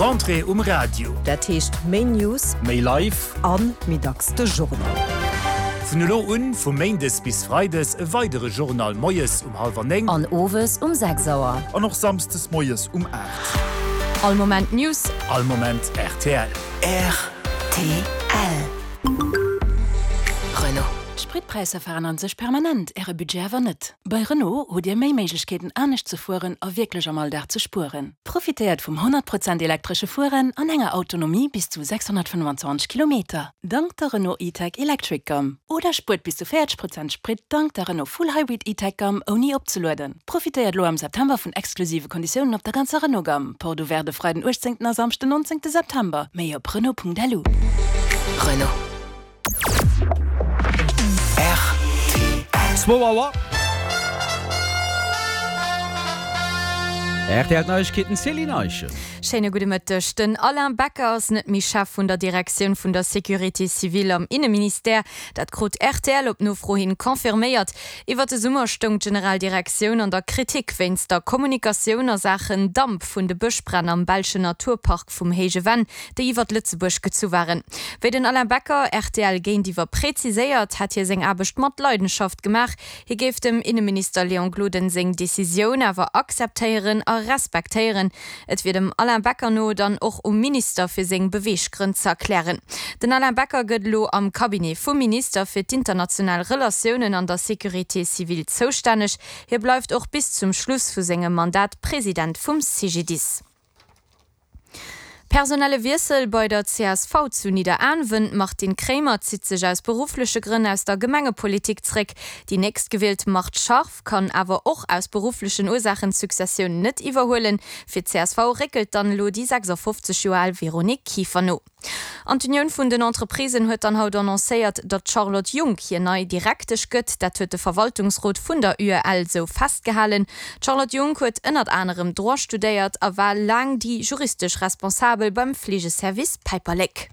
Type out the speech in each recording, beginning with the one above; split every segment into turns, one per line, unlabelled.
Rentrée um Radio.
Dat heescht méi News,
méi live
an méi dacks de Journal.
Vun elo un, vu méindes bis freides, e weidere Journal moies um hallwer 9.
An owes um 6 Auer.
An och samsdes moies um 8.
All Moment News.
All Moment rtl.
Rtl.
Renault. D'Spritpräisser veränneren sech permanent, Äre Budget awer net. Bei Renault hutt Dir méi Méiglechkeeten anescht ze fueren a wierklech am Alldag ze spueren. Profitéiert vum 100 Prozent elektresche Fueren an enger Autonomie bis zu 625 Kilometer, dank der Renault E-Tech Electric Gamme. Oder spuert bis zu 40 Prozent Sprit dank der Renault Full Hybrid E-Tech Gamme ouni opzelueden. Profitéiert elo am September vun exklusive Konditiounen op der ganzer Renault Gamme. Porte ouverte de Freiden 18 a Samschden 19 September. Méi op Renault.lu.
Renault.
Rtl. Zwou Auer. RTL Neiegkeeten, Céline Eischen.
Schéine gudde Mëtteg. Den Alain Becker ass net méi Chef vun der Direktioun vun der Sécurité civile am Inneministère. Dat krut rtl op Nofro hin confirméiert. Iwwer de Summer stoung d'Generaldirektioun an der Kritik wéinst der Kommunikatioun a Saachen Damp vun de Bëschbränn am belschen Naturpark vum Héije Venn, déi iwwert Lëtzebuerg gezu waren. Wéi den Alain Becker rtl géintiwwer präziséiert, hätt hie seng Aarbecht mat Leidenschaft gemaach. Hie géif dem Inneminister Léon Gloden seng Decisioun awer akzeptéieren a respektéieren. Et wier dem Alain Becker no dann och um Minister fir seng Beweeggrënn ze erklären. Den Alain Becker gëtt elo am Cabinet vum Minister fir d'international Relatiounen an der Sécurité civile zoustänneg. Hie bleift och bis zum Schluss vu sengem Mandat President vum CGDIS. Personelle Wiessel bei der csv zu Nidderaanwen, D'Martine Kremer zitt sech aus beruffleche Grënn aus der Gemengepolitik zréck. Déi nächstgewielt Marthe Scharff kann awer och aus berufflechen Ursaachen d'Successioun net iwwerhuelen. Fir d'CSV réckelt dann elo déi 56 Joer al Véronique Kieffer no. An d'Unioun vun den Entreprisen huet dann haut annoncéiert, datt d'Charlotte Junck hir nei Direktesch gëtt. Dat huet de Verwaltungsrot vun der UEL sou festgehalen. D'Charlotte Junck huet ënnert anerem Droit studéiert a war laang déi juristesch Responsabel beim Fleegeservice Päiperlek.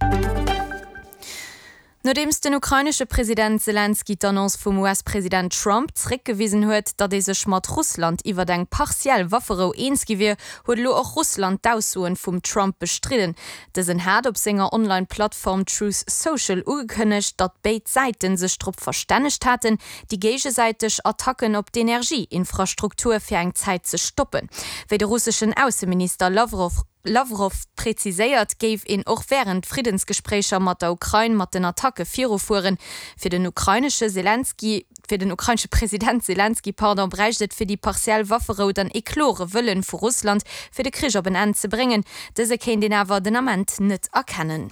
Nodeems den ukrainesche President Selenskyj d'Annonce vum US-President Trump zeréckgewisen huet, datt ee sech mat Russland iwwert eng partiell Wafferou eens gi wier, huet elo och Russland d'Aussoen vum Trump bestridden. Dësen hat op senger Online-Plattform Truth Social ugekënnegt, datt béid Säiten sech drop verstännegt haten, déi géigesäiteg Attacken op d'Energie-Infrastruktur fir eng Zäit ze stoppen. Wéi de russeschen Ausseminister Lawrow Lawrow präziséiert, géif een och wärend Friddensgespréicher mat der Ukrain mat den Attacke virufueren. Fir den ukrainesche Selenskyj, fir den ukrainesche President Selenskyj, pardon, bräicht et fir déi partiell Wafferou dann ee klore Wëllen vu Russland, fir de Krich op en Enn ze bréngen. Dëse kéint een awer den Ament net erkennen.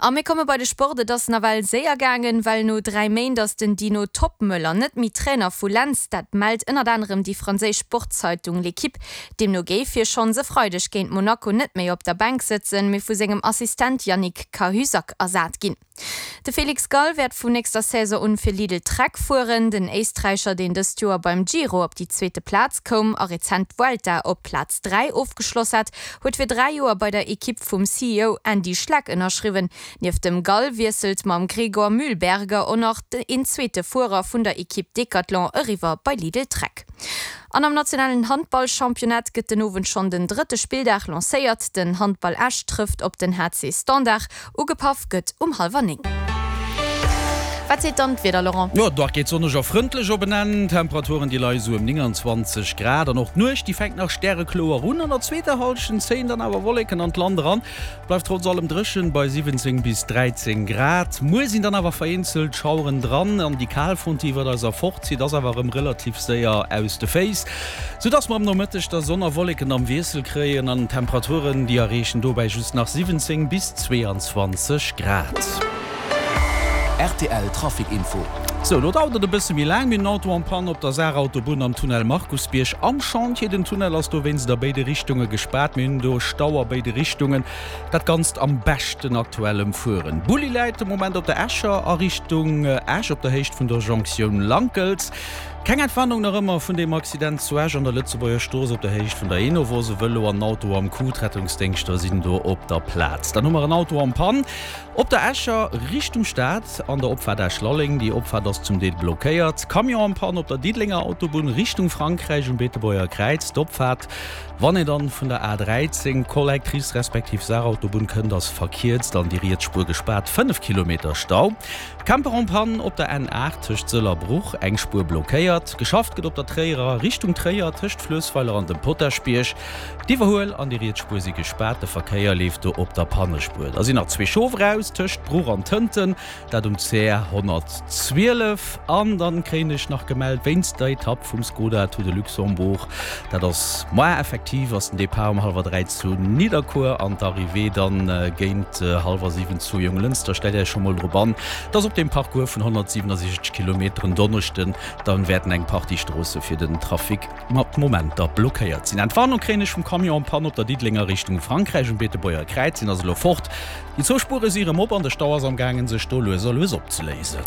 A mir komme bei de Sport. Et ass nawell séier gaangen, well no 3 Méint ass den Dino Toppmöller net méi Trainer vu Lens. Dat mellt ënnert anerem déi franséisch Sportzeitung L'Equipe. Deemno géif hie schonns e Freideg géint Monaco net méi op der Bänk sëtzen, mee vu sengem Assistent Yannick Cahuzac ersat ginn. De Felix Gall wäert vun nächster Saison un fir Lidl Trek fueren. Den Éisträicher, deen dëst Joer beim Giro op déi zweete Plaz koum a rezent d'Vuelta op Plaz 3 ofgeschloss hat, huet fir 3 Joer bei der Ekipp vum CEO Andy Schleck ënnerschriwwen. Nieft dem Gall wiesselt mam Gregor Mühlberger och nach een zweete Fuerer vun der Ekipp Decathlon eriwwer bei Lidl Trek. An am nationalen Handball-Championnat gëtt den Owend schonn den drëtte Spilldag lancéiert. Den Handball Esch trëfft op den HC Standard. Ugepaff gëtt um hallwer 9. Wat seet dann d'Wieder, Laurent?
Jo, d'Dag geet sonneg a frëndlech op en Enn. Temperaturen, déi leie sou ëm 29 Grad. An och d'Nuecht, déi fänkt nach stärekloer un. An der zweeter Hallschent zéien dann awer Wolleken an d'Land eran. Bleift trotz allem dréchen bei 17 bis 13 Grad. Muer sinn dann awer vereenzelt Schaueren dran an déi Kalfront, déi iwwert eis erfortzitt, ass awer erëm relativ séier aus de Féiss. Sou dass mer am Nomëtteg da Sonn a Wolleken am Wiessel kréien an Temperaturen, déi erreechen dobäi just nach 17 bis 22 Grad.
Rtl Trafic Info.
Sou, lo dauert et e bësse méi laang. Mir hunn en Auto en panne op der Saarautobunn am Tunnel Markusbierg am Chantier. Den Tunnel ass dowéinst a béide Richtunge gespaart. Mir hunn do Stau a béide Richtungen. Dat Ganzt am beschten aktuellem Fueren. Bulli läit de Moment op der Escher a Richtung Esch op der Héicht vun der Jonktioun Lankels. Keng Entwarnung nach ëmmer vun deem Accident zu Esch an der Lëtzebuerger Strooss op der Héicht vun der Enovos. E Vëlo an en Auto am Coup, d'Rettungsdéngschter sinn do op der Plaz. Dann hu mer en Auto en Panne op der Escher Richtung Stad an der Opfaart Esch-Lalleng. Déi Opfaart ass zum Deel blockéiert. Camion en Panne op der Diddelenger Autobunn Richtung Frankräich um Beetebuerger Kräiz. D'Opfaart, wann een dann vun der A13, Collectrice respektiv Saarautobunn kënnt, ass verkierzt an déi riets Spuer gespaart. 5 Kilometer Stau. Camper en panne op der N8 tëscht Sëll a Bruch, eng Spuer blockéiert. Geschafft gëtt op der Tréierer Richtung Tréier tëscht Fluessweiler an dem Potaschbierg. D'Iwwerhuel an déi riets Spuer si gespaart, de Verkéier leeft do op der Pannespuer. Da sinn nach zwee Schof eraus tëscht Bruch an Tënten, dat um CR 112. An dann kréien ech nach gemellt wéinst der Etapp vum Skoda Tour de Luxembourg, Dat ass moar effektiv, ass den Depart um hallwer 3 zu Nidderkuer an d'Arrivée dann géint hallwer 7 zu Jonglënster. Stellt Iech scho mol drop an, dass op deem Parcours vun 167 Kilometer en Donneschden dann wäerten eng Partie Stroosse fir den Trafic mat Momenter blockéiert sinn. Entwarnung kréien ech vum Camion en panne op der Diddelenger Richtung Frankräich um Beetebuerger Kräiz. Deen ass elo fort. Déi zwou Spuere si erëm op an de Stau ass am gaangen sech do lues a lues opzeléisen.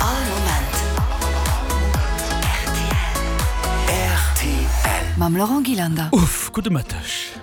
All Moment rtl. Mam Laurent Gillander.
Uff, gudde Mëtteg.